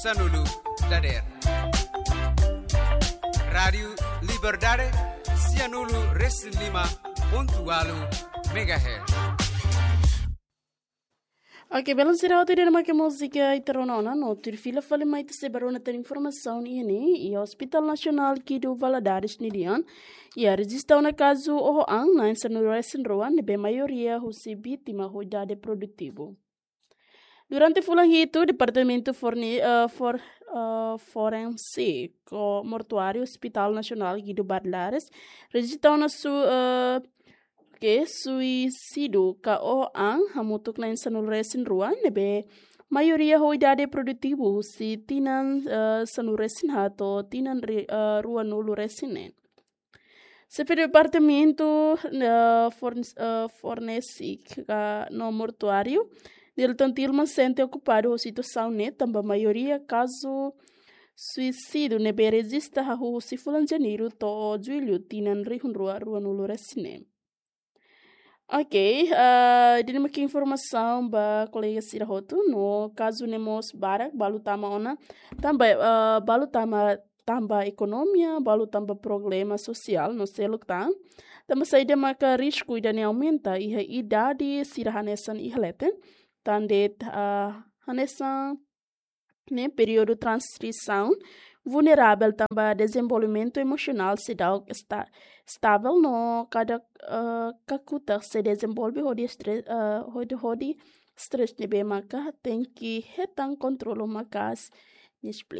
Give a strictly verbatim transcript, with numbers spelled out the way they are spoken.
Sanulu dader. Rádiu Liberdade, sianulu resin lima pontu walu megahertz. Oke, belun sira hotu, ida-ne'e mak múzika ita rona ona, no tuir fila fali mai ita sei bá rona tan informasaun iha ne'e, iha Hospital Nasionál Guido Valadares ninian, iha rejista ona kazu oho an na'in sanulu resin rua, ne'ebé maioria husi vítima ho idade produtivu. Durante fulan hitu, Departamentu Forni-, eh, For-, eh, Forensíku Mortuáriu Hospital Nasionál Guido Valadares rejista ona su-, eh, ke suisídiu ka oho an hamutuk na'in sanulu resin rua, ne'ebé maioria ho idade produtivu husi tinan, eh, sanulu resin haat to'o tinan ri-, eh, ruanulu resin neen. Xefe Departamentu, eh, Forn-, eh, Forensíku ka no Mortuáriu, Nilton Tilman, sente okupadu ho situasaun ne'e tanba maioria kazu suisídiu ne'ebé rejista hahú husi fulan Janeiru to'o Jullu tinan rihun rua ruanulu resin neen. Oke, eh, ida-ne'e mak informasaun ba kolega sira hotu, no kazu ne'e mós barak balu tama ona, tanba, eh, balu tama, tanba ekonomia, balu tanba problema sosiál no seluk tan. Tanba saida maka risku ida-ne'e aumenta iha idade sira hanesan iha leten, tan de'it, eh, hanesan ne'e períodu tranzisaun vulneravel tanba dezenvolvimentu emosionál seidauk esta-, estavel no kada, eh, kakutak sei dezenvolve hodi estre-, eh, hodi, hodi stress ne'ebé maka tenke hetan kontrolu maka'as, nia esplika.